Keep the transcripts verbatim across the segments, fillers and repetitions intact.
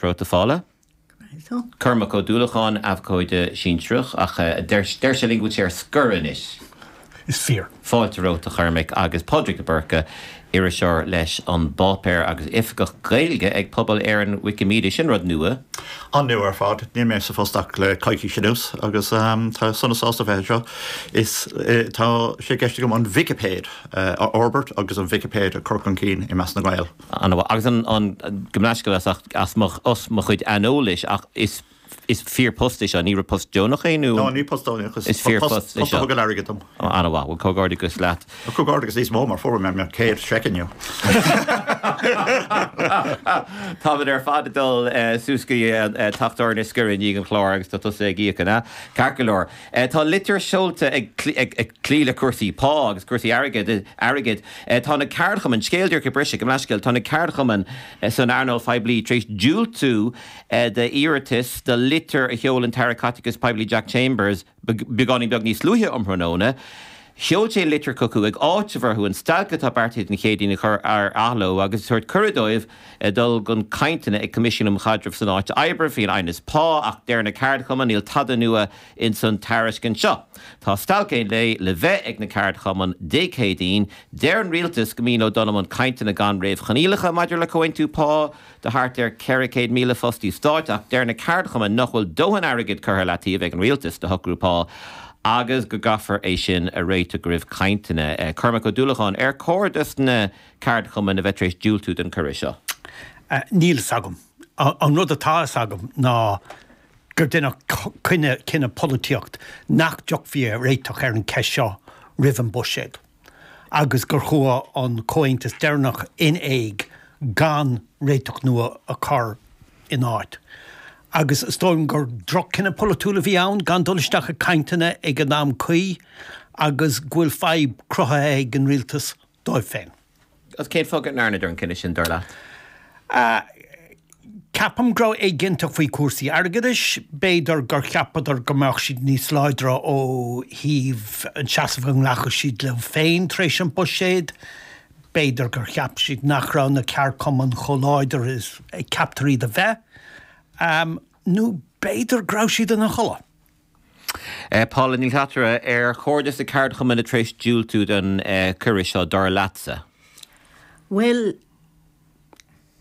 romhat a Phaula. Cormac Ó Dúlacháin abhcóide sinsearach ach deir sé linn go bhfuil sé ar scor anois. Is fíor. Fáilte romhat a Chormaic agus Pádraig de Búrca iriseoir leis an bpáipéar agus oifigeach Gaeilge ag Pobal Éireann Wikimedia sin rud nua. An-nua ar fad, níl mé sa phost ach le coicís anuas agus um, tá sona sásta bheith seo is eh, tá sé i gceist agam an Vicipéid uh, a fhorbairt agus an Vicipéid a chur chun cinn i measc na nGael. Agus an, an gomnáisce as, as os mo chuid aineolais ach is is fíorphost é seo ní raibh post deonach é nó No ní post deonach is fíorphost é seo airgead dom. An-mhaith bhuel comhghairdeas leat. Comhghairdeas níos mó mar fuair mé mo chéad seic inniu. Táimid ar fad ag dul suas go teach tábhairne Scoir i ndiaidh an chláir agus tá tusa ag íoc an ea? Ceart go leor. Tá litir seolta ag cloí le cúrsaí pá agus cúrsaí airgid airgid. Tá na ceardchumainn, scéal díreach ag briseadh, gabh mo leithscéal, tá na ceardchumainn san earnáil phoiblí tar éis diúltú d'iarratas do litir a sheol an tAire Caiteachais Poiblí Jack Chambers beagáinín beag níos luaithe um thráthnóna. Sheol sé litir chucu ag áiteamh orthu an stailc atá beartaithe don Chéadaoin a chur ar athló agus tabhairt cuireadh dóibh dul chun cainteanna ag Coimisiún um Chaidreamh san Áit Oibre faoin aighneas pá ach deir na ceardchumainn níl tada nua ins an tairiscint seo. Tá stailc aon lae le bheith ag na ceardchumainn Dé Céadaoin, deir an rialtas go mian leo dul i mbun cainteanna gan réamhchoinníollacha maidir le comhaontú pá do thart ar ceithre chéad míle fostaí stáit ach deir na ceardchumainn nach bhfuil dóthain airgid curtha leataobh ag an rialtas do shocrú pá agus go gcaithfear é sin a réiteach roimh cainteanna. Cormac Ó Dúlacháin, ar chóir dos na ceardchumainn a bheith tar éis diúltú don chuireadh seo? Níl fhios agam. An rud atá fhios agam ná gur deineadh cinneadh cinneadh polaitíocht nach dtiocfaí ar réiteach ar an cheist seo roimh an buiséad agus gur chuaigh an comhaontas deireanach in éag gan réiteach nua a chur in áit. Agus is dóigh liom gur droch-chinneadh polaitiúil a bhí ann gan dul isteach i gcainteanna ag an am cuí agus go bhfuil fadhb cruthaithe ag an rialtas dóibh féin. Agus cén fáth go ndearnadar an cinneadh sin, dar leat? Ceapaim go raibh éiginnteacht faoi chúrsaí airgeadais, b'fhéidir gur cheapadar go mbeadh siad níos láidre ó thaobh an seasamh a nglacfadh siad leo féin tar éis an buiséad, b'fhéidir gur cheap siad nach raibh na ceardchumainn chomh láidir is a ceaptar iad a bheith, nó b'fhéidir go raibh siad ina chodladh. Paula Ní Shlatara, ar chóir dos na ceardchumainn a tar éis diúltú don chuireadh seo, dar leatsa? Bhuel,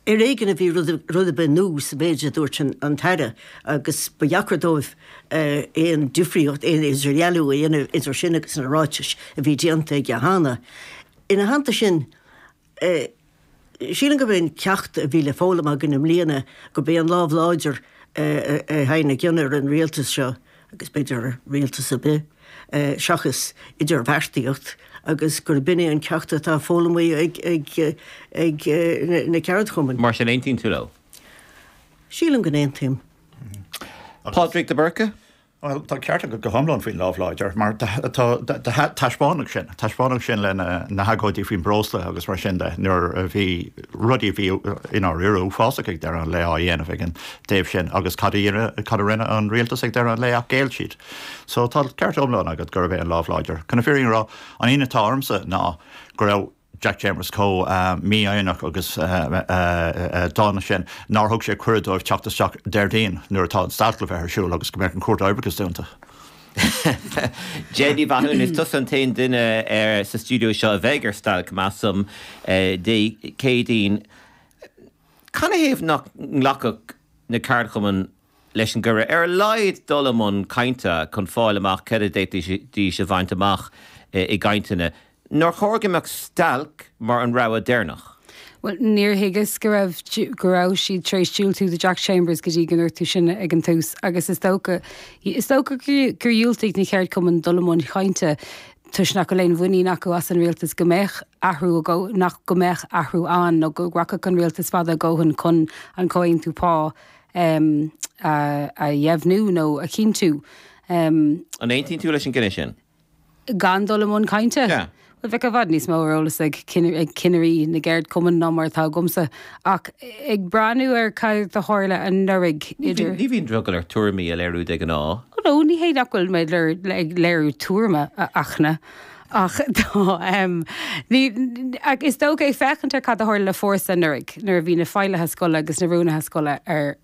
ar éigean a bhí rud ar bith nua sa mhéid a dúirt an tAire agus ba dheacair dóibh aon difríocht, aon idirdhealú a dhéanamh idir sin agus na ráitis a bhí déanta aige cheana. Ina theannta sin, sílim gurb é an ceacht a bhí le foghlaim againn i mbliana gurb é an lámh láidir a théann i gcion ar an rialtas seo, agus b'fhéidir ar rialtas ar bith, seachas idirbheartaíocht, agus gurb in é an ceacht atá foghlamtha ag na ceardchumainn. Mar sin, aontaíonn tú leo? Sílim go n-aontaím. Pádraig de Búrca? Bhuel, tá an ceart agat go hiomlán faoin lámh láidir, mar taispeánadh sin, taispeánadh sin le na hagóidí faoin breosla agus mar sin de, nuair a bhí rudaí a bhí i ndáiríre uafásach ag deireadh an lae á dhéanamh ag an dtaobh sin agus cad a cad a rinne an rialtas ag deireadh an lae ach ghéill siad. So tá ceart iomlán agat gurb é an lámh láidir. Chun na fírinne a rá, an ionadh atá ormsa ná go raibh Jack Chambers chomh mífhoighneach agus dána sin nár thug sé cuireadh dóibh teacht isteach Déardaoin nuair atá an stailc le bheith ar siúl agus go mbeadh an Chúirt Oibreachais dúnta. Jen Ní Mhathúna, is tusa an t-aon duine sa stiúideo seo a bheidh ar stailc, measaim, Dé Céadaoin. Canathaobh nach nglacfadh na ceardchumainn leis an gcuireadh ar a laghad dul i mbun cainte chun fáil amach céard a d'fhéadfaidís a bhaint amach i gcainteanna? Nár chóir go mbeadh stailc mar an rogha deireanach? Bhuel, níor thuigeas go raibh go raibh siad tar éis diúltú do Jack Chambers go dtí go ndúirt tú sin ag an tús agus is dócha is dócha gur dhiúltaigh na ceardchumainn dul i mbun cainte toisc nach bhfuil aon mhuinín acu as an rialtas go mbeadh athrú nach go mbeadh athrú ann nó go rachadh an rialtas fada a dhóthain chun an comhaontú pá a dheimhniú nó a chinntiú. An aontaíonn tú leis an gcinneadh sin? Gan dul i mbun cainte? Yeah. Bhuel, bheadh i bhfad níos mó ar eolas ag cinnirí na gceardchumann ná mar atá agamsa. Ach ag breathnú ar cad a tharla anuraidh idir. Ní bhíonn drogall ort tuairimí a léiriú de ghnáth. Ó no, ní hé nach bhfuil mé ag léiriú tuairime, a Fhachtna, ach tá, ní, is dócha ag féachaint ar cad a tharla le Fórsa anuraidh nuair a bhí na feighlithe scoile agus na rúnaithe scoile ar